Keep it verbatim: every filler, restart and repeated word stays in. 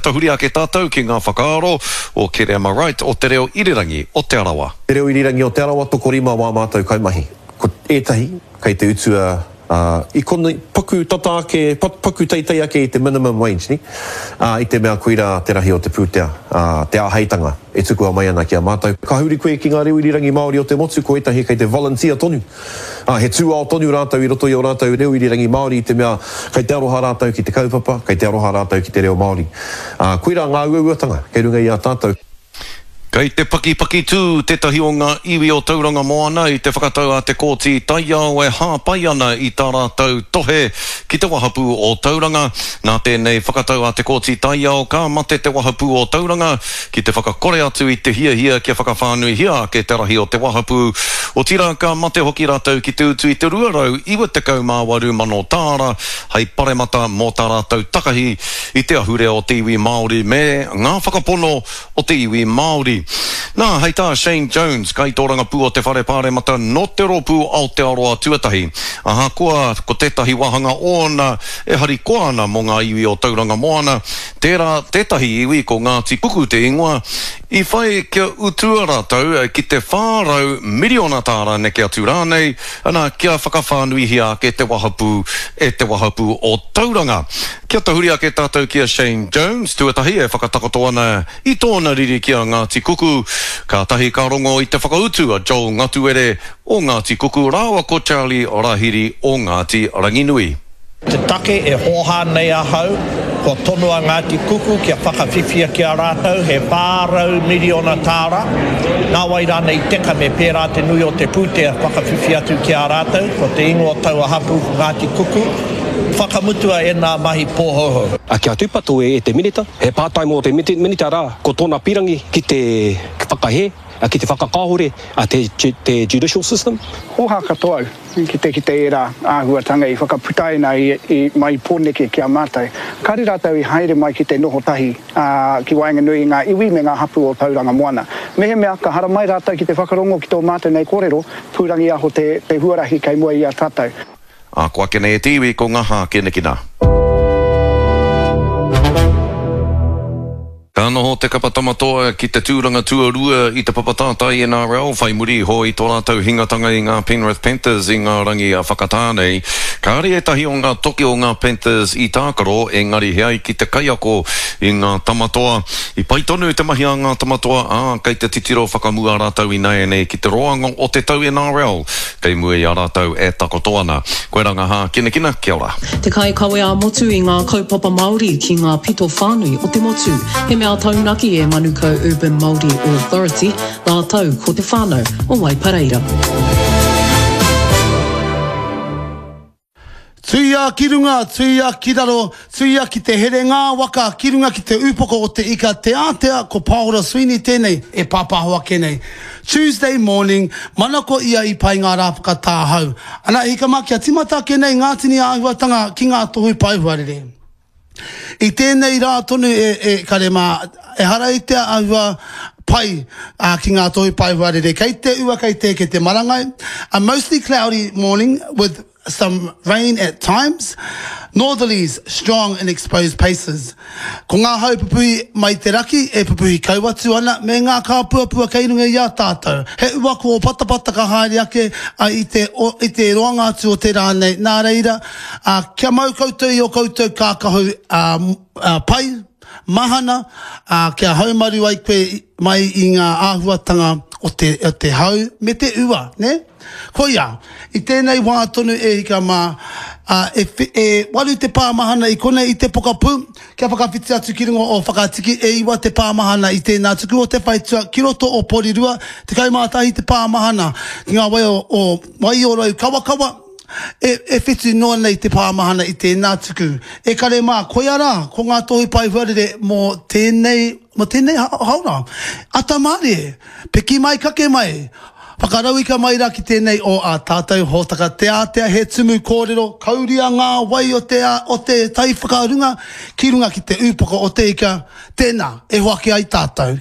tahuri ake tātou ki ngā whakaaro o Kereama Wright o Te Reo Irirangi o Te Arawa. Te Reo Irirangi o Te Arawa, tokorima wā mātou kaimahi. Ko ētahi kei te utua i konei, paku tata ake, paku teitei ake i te minimum wage, ne? I te mea koirā te rahi o te pūtea, te āheitanga e tukua mai ana ki a mātou. Ka huri koe ki ngā reo irirangi Māori o te motu, ko ētahi kei te volunteer tonu. He tūao tonu rātou i roto i ō rātou reo irirangi Māori i te mea kei te aroha rātou ki te kaupapa, kei te aroha rātou ki te reo Māori. Koirā ngā uauatanga kei runga i a tātou. Kei te pakipaki tū tētahi o ngā iwi o Tauranga Moana i te whakatau a te Kōti Taiao e hāpai ana i tā rātou tohe ki te wahapū o Tauranga. Nā tēnei whakatau a te Kōti Taiao ka mate te wahapū o Tauranga ki te whakakore atu i te hiahia kia whakawhānuihia ake te rahi o te wahapū. Otirā ka mate hoki rātou ki te utu i te rua rau iwa tekau mā waru mano tāra hei paremata mō tā rātou takahi i te ahurea o te iwi Māori me ngā whakapono o te iwi Māori. Nā, hei tā Shane Jones, kaitōrangapū o te Whare Pāremata nō te rōpū Aotearoa Tuatahi. Ahakoa ko tētahi wāhanga ōna e harikoa ana mō ngā iwi o Tauranga Moana, tērā tētahi iwi ko Ngāti Kuku te ingoa, i whai kia utua rātou ki te whā rau miriona tāra neke atu rānei, ana kia whakawhānuihia ake te wahapū e te wahapū o Tauranga. Kia tahuri ake tātou ki a Shane Jones, tuatahi e whakatakoto ana i tōna riri ki a Ngāti Kuku, kātahi ka rongo i te whakautu a Joel Ngatuere o Ngāti Kuku rāua ko Charlie Rahiri o Ngāti Ranginui. Te take e hōhā nei ahau, kua tonoa Ngāti Kuku kia whakawhiwhia ki a rātou he whā rau miriona tāra, nā wai rānei i teka me pērā te nui o te pūtea whakawhiwhi atu ki a rātou, ko te ingoa taua hapū ko Ngāti Kuku, whakamutua e nā mahi pōhouhou. A kia tūpato e te minita, he pātai mō te minita rā, ko tōna pirangi ki te whakahē, ki te whakakāhore a te, te judicial system. Hōhā katoa au ki te kite ērā āhuatanga i whakaputaina i, i mai Pōneke ki a mātou. Kāre rātou i haere mai ki te noho tahi ā, ki waenganui i ngā iwi me ngā hapū o Tauranga Moana. Mehemea ka haramai rātou ki te whakarongo ki tō mātou nei kōrero, pūrangiaho te, te huarahi kei mua i a tātou. Ā, ko ake nei e te iwi ko ngā hākinakina. Ka noho te kapa Tamatoa ki te tūranga tuarua i te papa tātai N R L whai muri iho i tō rātou hingatanga i ngā Penrith Panthers i ngā rangi a Whakatāne. Kāre ētahi o ngā toki o ngā Panthers i tākaro, engari he ai ki te kaiako i ngā Tamatoa. I pai tonu te mahi a ngā Tamatoa, ā, kei te titiro whakamua rātou ināianei ki te roanga o te tau N R L, kei mua i a rātou e takoto ana. Koe rā ngā hākinakina, kia ora. Te kaikawe ā-motu i ngā kaupapa Māori ki ngā pito whānui o te motu. He mea taunaki e Manukau Urban Māori Authority, rātou ko te whānau o Waipareira. Tuia ki runga, tuia ki raro, tuia ki te here ngā waka, ki runga ki te upoko o te ika, te ātea ko Paora Sweeney tēnei e pāpāho ake nei. Tuesday morning, manako ia i pai ngā rā whakatāhau. Ana hika mā kia timata ake nei ngā tini āhuatanga ki ngā tohu paehuarere. I tēnei rā tonu e, e kare mā, e hara i te āhua pai uh, ki ngā tohu paehuarere. Kei te ua, kei te, kei te marangai. A mostly cloudy morning with some rain at times. Northerlies strong in exposed places. Ko ngā hau pupuhi mai te raki e pupuhi kau atu ana me ngā kāpuapua kei runga i a tātou. He ua ko o patapata ka haere ake a, i, te, o, i te roanga atu o te rā nei. Nā reira, a, kia mau koutou i o koutou kākahu a, a, pai, mahana, a, kia haumaru ai koe mai i ngā āhuatanga o te, o te hau me te ua, ne? Koia, i tēnei wā tonu e hika mā, uh, e, e waru te pāmahana i konei i te pokapū, kia whakawhiti atu ki runga o Whakatiki e iwa te pāmahana i tēnā tuku o te whaitua ki roto o Porirua, tekau mā tahi te pāmahana ki ngā wai o, o Waiorau Kawakawa, e, e whitu noa nei te pāmahana i tēnā tuku. E kare mā, koia rā, ko ngā tohu paehuarere mō tēnei, mō tēnei haora. Ata mārie, piki mai kake mai, whakarauika mai rā ki tēnei o a tātou hōtaka te ātea he tumu kōrero, kauria ngā wai o te, o te tai whakarunga, ki runga ki te upoko o te ika, tēnā, e hoake ai tātou.